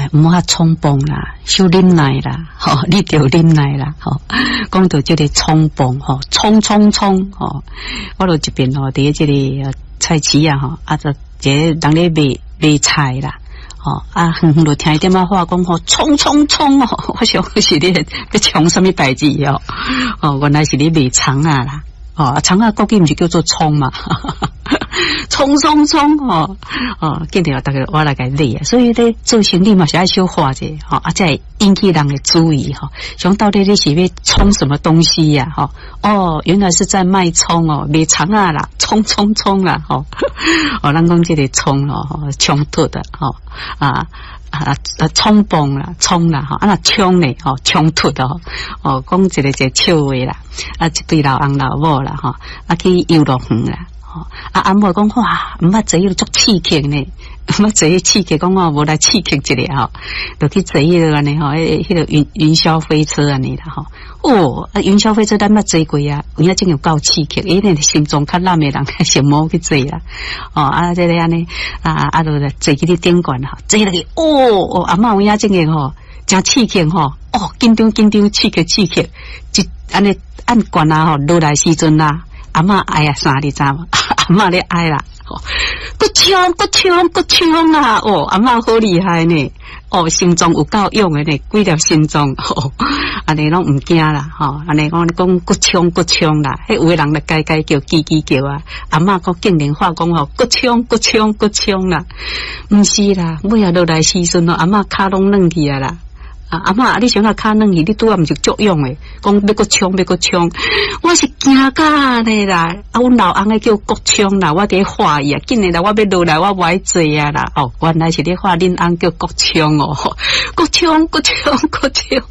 哎，毋好衝動啦，小忍耐啦，吼，你著忍耐啦，吼。講到這个衝動，吼，衝衝衝，吼，我就一邊吼，佇這个菜市啊，吼，啊，就一个人咧賣賣菜啦，吼，啊，遠遠就聽伊踮仔喊講吼，衝衝衝哦，我想是咧欲衝啥物代誌哦，哦，原來是咧賣蔥仔啦，哦，蔥仔國語毋是叫做蔥嘛？衝衝衝吼哦，見著逐家我來共買啊，所以咧做生意嘛是愛小看者吼，啊，才會引起人的注意吼。想到底你是欲衝什麼東西呀？吼哦，原來是在賣蔥哦，賣蔥仔啦，衝衝衝啦吼！哦，咱講這个衝哦，衝突的吼啊啊啊，衝動啦，衝啦吼，啊若衝呢吼，衝突的吼，哦，講一个一个笑話啦，啊，一對老翁老母啦吼，啊去遊樂園啦。啊！阿母講哇，毋捌坐彼个足刺激呢，毋捌坐彼刺激，講我無來刺激一下吼，就去坐彼个按呢吼，彼个雲霄飛車按呢啦吼。哦，啊雲霄飛車咱捌坐過啊，有影真有夠刺激，因為心臟較軟的人先無去坐啦。哦，啊，這个按呢，啊啊，就坐去咧頂懸吼，坐落去，哦哦，阿嬤有影真個吼，誠刺激吼，哦，緊張緊張，刺激刺激，一按呢按懸啊吼，落來時陣啊。阿嬤哀啊啥你知無？阿嬤咧哀啦，閣衝閣衝閣衝啊！哦，阿嬤好厲害呢！哦，心臟有夠勇的呢，幾粒心臟，按呢攏毋驚啦，吼！按呢講講閣衝閣衝啦，彼有的人就該該叫，吱吱叫啊！阿嬤閣竟然話講吼，閣衝閣衝閣衝啦，毋是啦，尾仔落來時陣哦，阿嬤跤攏軟去啊啦！啊，阿嬤，你想下跤軟去，你拄仔毋是足勇的，講欲閣衝欲閣衝，我是驚甲按呢啦！啊，阮老翁咧叫閣衝啦，我佇咧喝伊啊，緊來啦，我欲落來，我無愛坐啊啦！哦，原來是咧喝恁翁叫國衝哦，閣衝閣衝閣衝，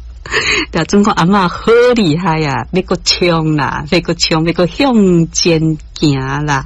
但總講阿嬤好厲害啊，欲閣衝啦，欲閣衝，欲閣向前行啦。